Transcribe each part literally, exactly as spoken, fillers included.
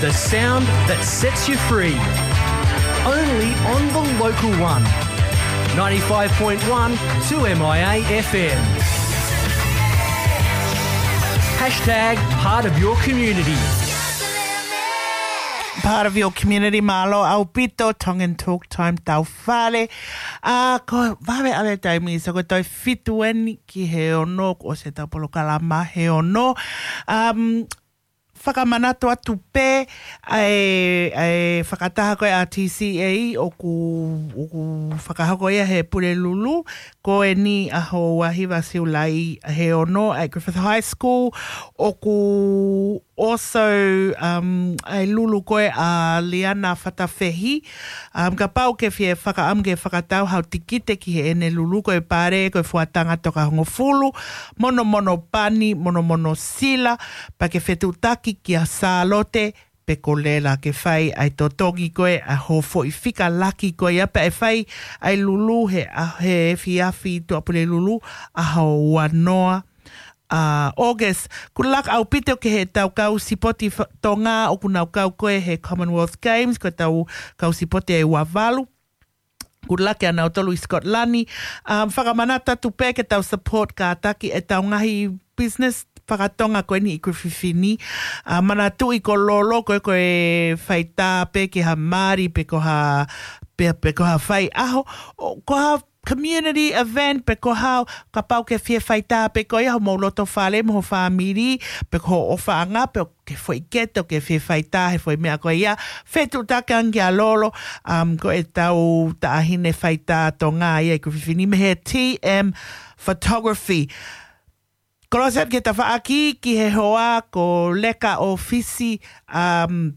The sound that sets you free. Only on the local one. Ninety-five point one two M I A F M. Hashtag part of your community. Part of your community, mālō ʻaupito, Tongan Talk Time tau fale. A, ko vave ʻave taimi, so ko e toe fitu eni ki he ono, ko se tau polokalama he ono. Um, fakamanatu atu pē, ʻa e, ʻa e fakataha ko ē ʻa T C A ʻoku, ʻoku fakahoko ia he Pulelulu, ko eni ʻaho ua hiva Siulai he ono, ʻa e Griffith High School, ʻoku also, um, ʻa e lulu ko ē ʻa Liana Fatafehi, um, kapau ke fie fakaʻamu ke fakatau hao tikite ki heʻene lulu ko e pale, ko e fuatanga toka hongofulu, monomono pani, monomono sila, pea ke fetuʻutaki kia Sālote, pe ko Lela ke fai ʻa e totongi ko ē ʻa hoʻo foʻi fika laki ko ia pea ʻe fai ʻa e lulu he, ʻa, he efiafi Tuʻapulelulu ʻaho ua noa ʻa August. Good luck ʻaupito ki he tau kau sipoti fa-, Tonga ʻoku nau kau ko ē he Commonwealth Games, ko e tau kau sipoti ʻe ua valu. Good luck kia nautolu ʻi Scotland. Um, fakamanatu atu pē ke tau support kātaki e tau ngaahi business fakatonga ko eni ʻi Griffith ni. Uh, manatuʻi ko Lolo ko ē ko e faitā pē ki ha mali pe ko ha, pe, pe ko ha faiʻaho. ʻO, ko ha community event pe ko ha, kapau ke fie faitā pē ko ia homou loto fale mo ho fāmili, pe ko hoʻo ʻofaʻanga, pe ke foʻi keto ke fie faitā he foʻi meʻa ko ia. Fetuʻutaki ange kia Lolo, um, ko e tau taʻahine faitā Tonga ia ʻi Griffith ni mei he T M Photography. Kolosi atu ki he tafaʻaki ki he hoa ko Leka ʻOfisi, um,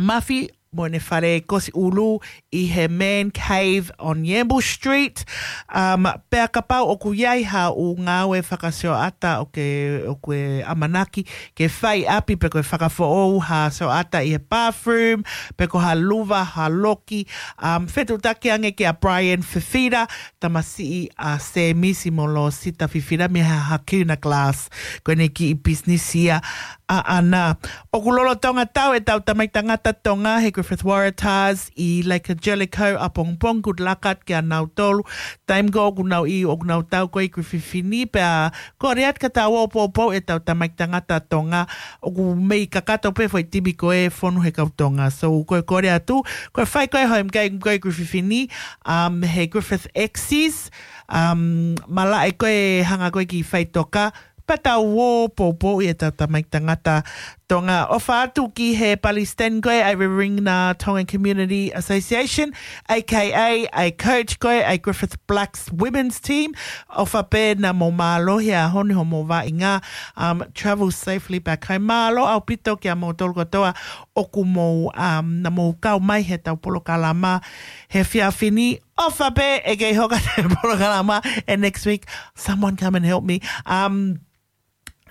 Mafi, mo ʻene fale Kosi ʻUlu ʻi he Man Cave on Yamble Street. Um, pea kapau ʻoku ʻi ai haʻo ngāue fakasioʻata ʻoku ke, ʻoku ke ʻamanaki ke fai ʻapi pe ko e fakafoʻou ha sioʻata ʻi he bathroom, pe ko ha luva, ha loki. Um, fetuʻutaki ange kia Brian Fifita, tamasiʻi ʻa Semisi mo Losita Fifita mei he Hakuna Glass. Ko ʻene kiʻi business ia ʻaʻana. ʻOku lolotonga tau e tau tamaiki tangata Tonga he Griffith Waratahs ʻi Lake Jellicoe ʻapongipongi, good luck atu kia nautolu. Taimi ko ē ʻoku nau ʻi, ʻoku nau tau ko ē ʻi Griffith ni pea kole atu ke tau ō poupou e tau tamaiki tangata Tonga ʻoku mei kakato pē foʻi timi ko ē fonu he kau Tonga. So ko e kole atu, ko e fai ko ē home game ko ē ʻi Griffith ni, um, he Griffith X's, um, malaʻe ko ē hanga ko ē ki faʻitoka, pea tau ō poupou ʻi e tau tamaiki tangata Tonga. ʻOfa atu ki he palesiteni ko ē ʻa e Riverina Tongan Community Association, A K A ʻa e coach ko ē ʻa e Griffith Blacks Women's Team. ʻOfa pē naʻa mou mālohi ʻaho ni homou vaʻinga, um, travel safely back home. Mālō ʻaupito kia moutolu kotoa ʻoku mou, um, naʻa mou kau mai he tau polokalama he efiafi ni. ʻOfa pē ʻe kei hoko atu e polokalama ʻe next week. Someone come and help me. Um,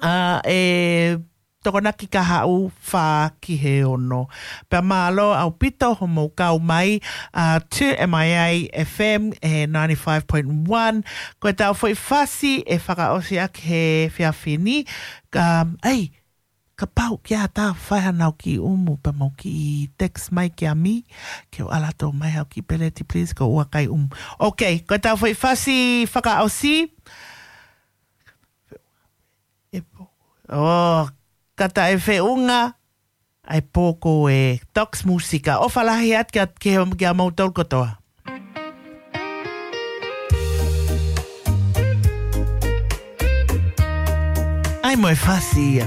uh, ʻe Tokonaki kahaʻu fā ki he ono. Pea mālō ʻaupito homou kau mai, uh, to M I A F M he ninety-five point one. Ko e tau foʻi fasi ʻe fakaʻosi ʻaki he efiafi ni. Um, ei, kapau kia ta fai hanau kiʻi ʻumu pea mau kiʻi text mai kia mi, ke u ʻalu atu mai hau kiʻi peleti, please, ko ua kai ʻumu. Ok, ko e tau foʻi fasi fakaʻosi. E po. Oh, kata e feʻunga, ʻa e pō ko e Tox Musika. ʻOfa lahi atu kia, kia, kia moutolu kotoa. ʻAi mo e fasi ia.